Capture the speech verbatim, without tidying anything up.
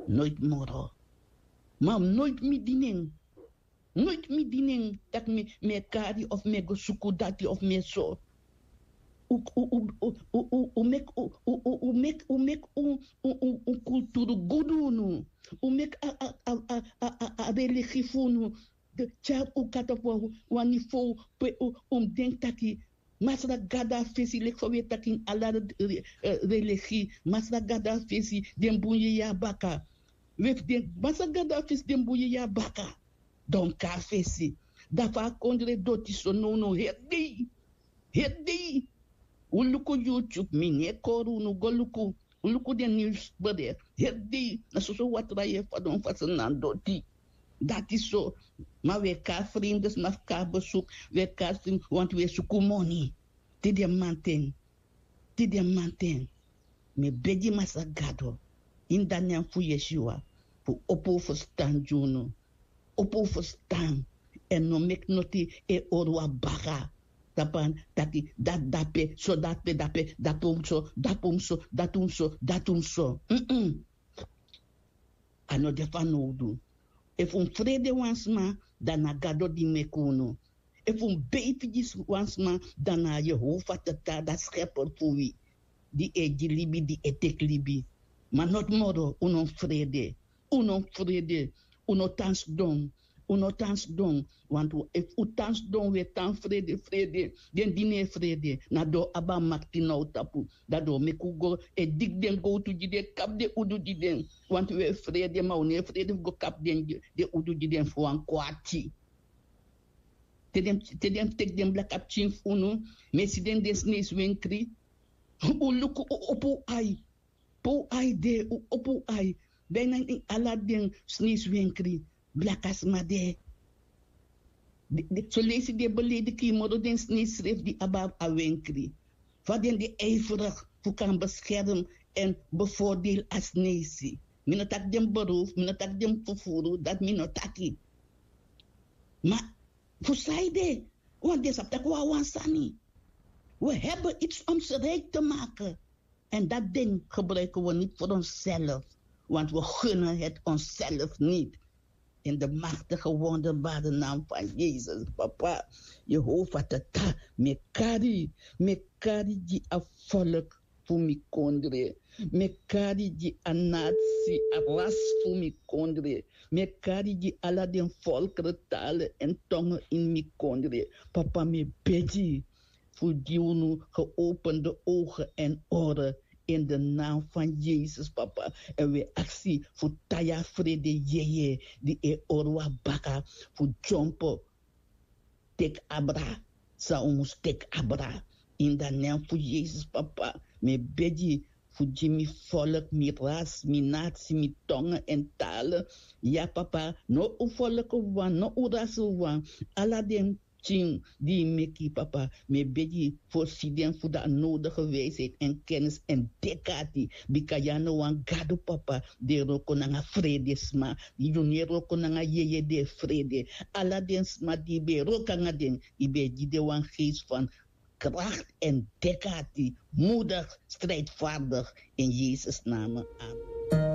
Noit moro. Ma noit mi dinen. Noit mi dinen taki mi e kari of mi e go suku dati of mi e so. U meki un kulturu gudu unu. U meki a religi fu unu. Tyari un kata fu wan nivow pe un mus denki taki masra gado a fesi leki fa wi e taki ini ala religi. Masra gado a fesi den bun yeye a baka. Wi efu den masra gado a fesi den bun yeye a baka, dan un kon a fesi. Dan fa a kondre doti so nownow heri dei. Heri dei. Un luku youtube mi no e kori unu go luku. Un luku den niwsbede heri dei. Na soso watra yu e fadon fasi na doti. Dati so. Ma wi e kon a fremde sma fu kon a besuk. Wi e kon a fremde wantu wi e suku moni. Te den manten. Te den manten. Mi e begi masra gado ini dan nen fu yesiwa fu opo un ferstan gi unu. Opo un ferstan. Èn no meki noti e hori wan baka tapu a taki dati dape so dati pe dape. Dape un so dati un so dati un so dati un so. A no de fanowdu. Efu un frede wan sma, dan na gado di meki unu. Efu un beifi gi wan sma, dan na a yehova tata dati skeper fu wi, di e gi libi di e teki libi. Ma noti moro un no mus frede. Un no mus frede. Un no tan sidon. Un no tan sidon. Wantu efu un tan sidon un e tan frede frede. Den di no e frede na den o abi a makti na un tapu. Dan den o meki un go e diki den gowtu gi den kapu den udu gi den. Wantu un e frede ma un no e frede fu go kapu den udu gi den fu wan kwati. Te den teki den blaka pikin fu unu. Mi e si den den sneisi wenkri. Un luku un opo un ai. Pe un ai de un opo un ai. Bina ini ala den sneisi wenkri blaka sma de. Soleisi den e belediki yu moro den sneisi srefi di abi a wenkri. Fa den de ijferigi fu kan beskerm èn bevordeli a sneisi. Mi no taki den beroof mi no taki den fufuru dati mi no taki. Ma fu san ede? Want den sabi taki wan wan sani. We hebben iets om ze rijk te maken. En dat ding gebruiken we niet voor onszelf, want we gunnen het onszelf niet. In de machtige wonderbare naam van Jezus, papa, Jehovah tata, mekari, mekari gi a volk fu mi kondre, mekari gi a nasi, a ras fu mi kondre, mekari gi ala den volkeren, talen en tongen in mi kondre. Papa, mi begi fu gi unu geopende ogen en oren in de naam van Jezus, papa. En we aksi fu taya frede yeye di e orwa baka fu jompo tek abra san un mus tek abra. In de naam fu Jezus, papa, mi begi fu gi mi volk, mi ras, mi nasi, mi tongen en talen. Ya, papa, no un volk wan, no un ras wan. Ala den pikin di yu meki, papa, mi e begi fu o si den fu den a nodige wijsheid en kennis en dek'ati. Bika yu a no wan gado, papa, di e wroko nanga fredesma. Yu no e wroko nanga yeye di e frede. Ala den sma di yu ben e wroko nanga den, yu ben e gi den wan geest van kracht en dek'ati, moedig, strijdvaardig, in Jezus' naam. Amen.